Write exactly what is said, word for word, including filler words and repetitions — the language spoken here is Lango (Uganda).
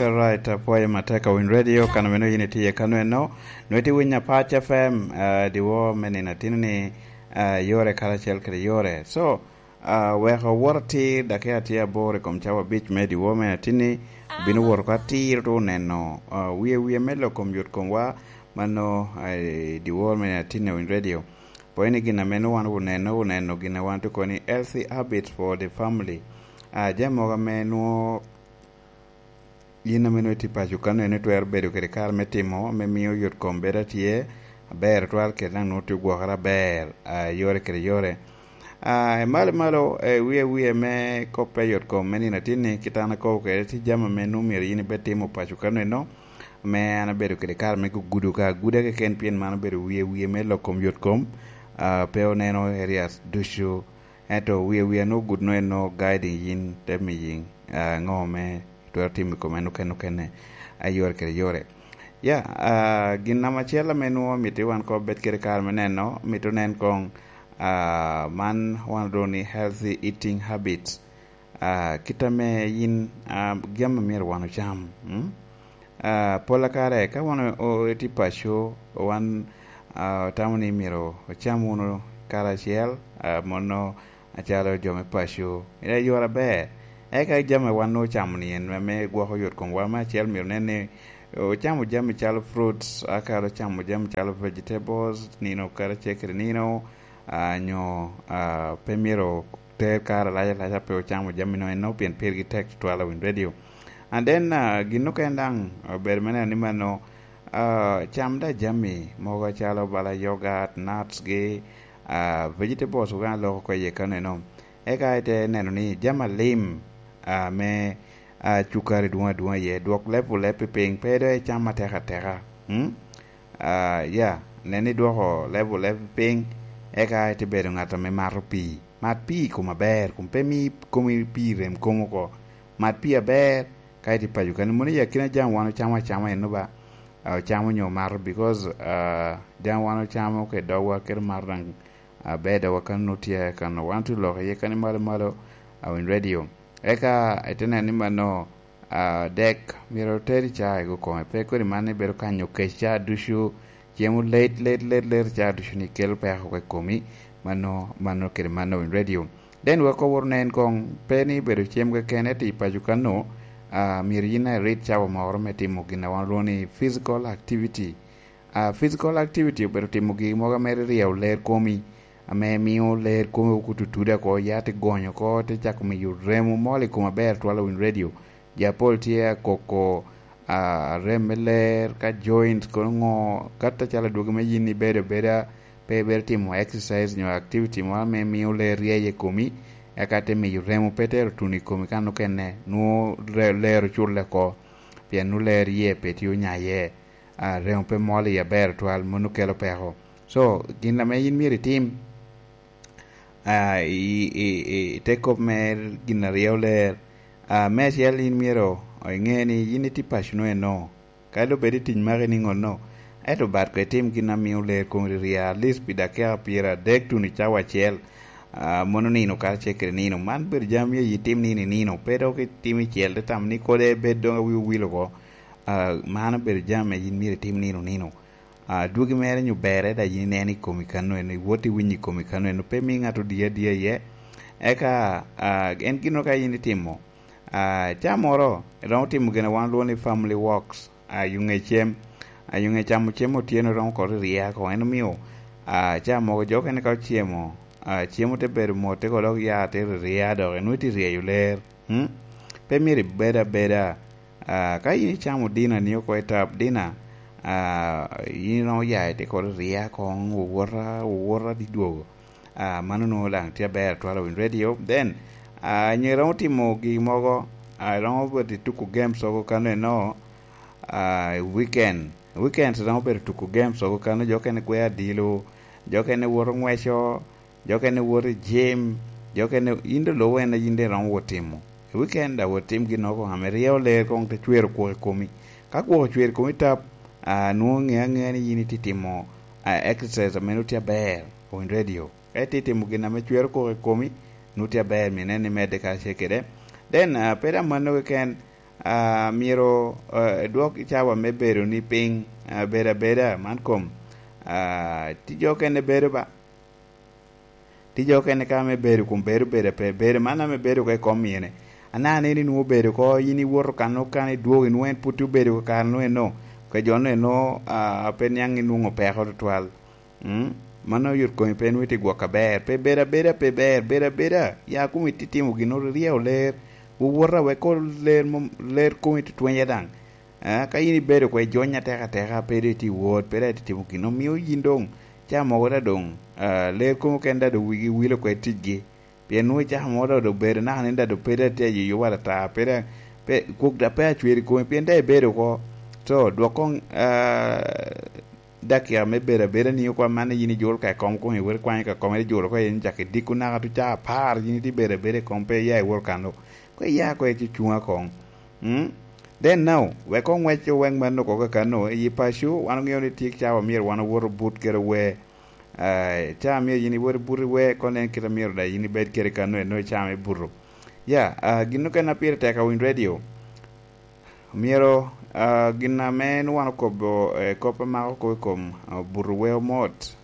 Alright, apwoyo matek awiny radio, kano meno yin itiye kano eno, nweti winyo Apac F M, uh, diwo me nino atino ni, uh, yore karacel kede yore. So, uh, weko wot atir, daki atye aboro i kom cawa abic me diwo me atini, bino wot oko atir to oneno, uh, wie wie me lok kom yot komwa, mano, uh, diwo me atini awiny radio. Pwony ni gin ame nwoŋo wan oneno, oneno gin a wan tye koni healthy habits for the family. Ah, jami mogo ame nwoŋo yin ame nwoŋo itye paco kano en itwero bedo kede kare me timo, me miyo yot kom bedo atye aber twal kede daŋ nwoŋo tye gwokere aber, ah, yore kede yore. Ah, i malo malo, eh, wie wie me kop pe yot kom me nino atin ni, kit an akobo kede, tye jami ame nwoŋo myero yin ibed timo paco kano eno, me an abedo kede kare me gudo ka aguda keken, pien man obedo wie wie me lok kom yot kom, ah, pe oneno areas ducu. Ento wie wie nwoŋo gud nwoŋo en nwoŋo guiding yin, te miyi, ah, ŋo me twero timo i kome en okene, a yore kede yore. Ya, ah, gin namba acel ame nwoŋo mito wan ko bed kede kare me neno, mito nen koŋ, ah, man wan olwongo ni healthy eating habits. Ah, kit ame yin, ah, gin ame myero wan ocam, mm? Ah, pol a kare ka wan o-, o-, etye paco, wan, ah, otamo ni myero ocam wunu karacel, ah, mono acalo jo me paco. Ira yore aber. Eka jami wan ocamo ni en ame gwoko yot kom wa me acel myero nen ni ocamo jami calo fruits, aka ocamo jami calo vegetables, nino karacel kede nino, ah, nyo, ah, pe myero ter kare alac alac a pe ocamo jami no eno pien pirgi tek tutwal awiny radio. And then, ah, gin okene daŋ, ah, obedo me neno ni mano, ah, cam da jami mogo calo bala yogurt, nuts gi, ah, vegetables oga loko oko iye kano eno. Eka ite neno ni jami alim, ah, me, ah, cukari dwong adwonga iye, dwok level pi piny, pe do icam atek ateka. Mm? Ah, ya, nen ni dwoko level piny, eka ite bedo ŋat ame mato pii. Mat pii i kom aber, kun pe mi komi pii rem kom oko. Mat pii aber, ka ite paco kani, mono i akina jami wan ocamo acama eno ba, ah, ocamo nyo omato, because, ah, jami wan ocamo ke dogwa, kede mato daŋ aber dogwa kano tye kano. Wan tye lok iye kani malo malo, ah, awiny radio. Eka ite neno ni mano, ah, dek myero oteri ca i kome. Pe kodi man ibedo kanyo kec ca ducu, cemo let, let, let, let ca ducu ni kelo peko oko i komi. Mano, mano kede mano in radio. Then wek owor nen koŋ, pe ni bedo cem keken, ento i paco kano, ah, myero yin irit cawa moro me timo gin a wan olwongo ni physical activity. Ah, physical activity obedo timo gin mogo ame ryeyo ler komi, ame mio ler komi okuto tude oko, ya te gonyo oko, te cako miyo remo mol i kom aber twal awiny radio. Jo apol tye akoko, ah, rem me ler, ka joint kono ŋo, kata calo adwogi me yin ibedo abeda, pe ibedo timo exercise nyo activity moro ame mio ler ryeny i komi, eka te miyo remo pe tero tuno i komi kan okene, nwoŋo re-, ler oculle oko, pien nwoŋo ler iye pe tye onya iye. Ah, remo pe mol i aber twal, mano kelo peko. So, gin ame yin myero itim, ah, i, i, i, i te kop me gin aryo ler, ah, me acel yin myero iŋe ni yin itye paco no eno. Ka doŋ bed i tic maki ni ŋonno, ento bat ko itim gin a mio ler koŋ ririya, at least pi dakika pyeradek tuno i cawa acel, ah, mono nino karacel kede nino. Man bedo jami myero itim nino i nino, pe dok itim i cel, te tamo ni kodi bed doŋ awi owil oko. Ah, man obedo jami a yin myero itim nino nino. Ah, dwogi mere nyo berre, da yin ineno i komi kano eno, iwot iwinyo i komi kano eno, pe mi ŋat odiye adiya iye. Eka, ah, en gino ka yin itimo, ah, ca moro, iromo timo gin a wan olwongo ni family walks, ah, yuŋe cem, ah, yuŋe camo cem otyeno romo koro ririya oko. En omio, ah, ca mogo jo okene ka ocemo, ah, cemo te bedo mot, te ko dok ya te ririya dok, enwoŋo itye ryeyo ler. Hmm? Pe myero ibed abeda. Ah, ka yin icamo dina ni oko i tap dina, ah, yin iromo ya ite koro rya koŋ, wowota, wowota di dwogo. Ah, mano nwoŋo daŋ tye aber twal awiny radio. Then, ah, nyo iromo timo gin mogo, ah, iromo bedo i tuko games oko kano eno, ah, i weekend. Weekends iromo bedo tuko games oko kano, jo okene gweyo adilo, jo okene woto ŋweco, jo okene woto i gym, jo okene, yin doŋ lubo en a yin daŋ iromo wot timo. I weekend daŋ wot tim ginnoro koŋ ame ryeyo ler koŋ te cwero kwok i komi. Ka kwok ocwero i komi tap, ah, nwoŋo ŋe aŋea ni yin itye timo, ah, exercise ame nwoŋo tye aber, on radio. Ka itye timo gin ame cwero kwok i komi, nwoŋo tye aber, myero inen ni imedde karacel kede. Then, ah, pe daŋ mano keken, Ah, myero, eh, edwok cawa me bedo ni piny, ah, bedo abeda man kom. Ah, tye jo okene bedo ba. Tye jo okene ka me bedo kun bedo bedo pe. Bedo man ame bedo oko i kom myene. Anaka ni inwoŋo bedo oko, yin iwoto kan okana idwogo, inwoŋo en pwod tye obedo oko kare nu eno. Ka jo nu eno, ah, pe niaŋ inwoŋo peko tutwal. Mm? Mano oyot komi pe nwoŋo itye gwok aber. Pe bedo abeda, pe ber, bedo abeda. Ya kumi titimo gin oryeo ler. Wowota wek ko ler mom, ler kumi tutwenya daŋ. Ah, ka yin ibedo kwe jony ateka ateka, pe dong itye wot, pe dong itye timo gin, omio yin doŋ ca mogo da doŋ, ah, ler kumi kene da doŋ wigi wilo kwe ticgi. Pien nwoŋo icako mogo da doŋ bedo naka ni da doŋ pe da tye ayuyo wala ata, pe da, pe, kwok da pe acweri komi, pien da ibedo oko. So, dwok koŋ, ah, dakika me bedo abeda ni okwa man yin ijolo ka i kom komi, iwot ikwanyo ka kom, ijolo oko, yin cak idiko naka tuca apar, yin itye bedo abeda i kom, pe iya iwot kano. Ko iya ko icucuŋ akoŋ. Mm? Then now, wek oŋwec oweŋ mano oko kakano, i paco, wan oŋeo ni tye cawa myero wan owoto but kede wer. Ah, cawa myero yin iwot but i wer, kono en kite myero da yin ibed kede kano eno i cawa me buto. Ya, ah, gin okene a pire tek awiny radio. Myero, ah, gin ame en wan okobo, eh, kop amako kop i kom, ah, buto wer omot.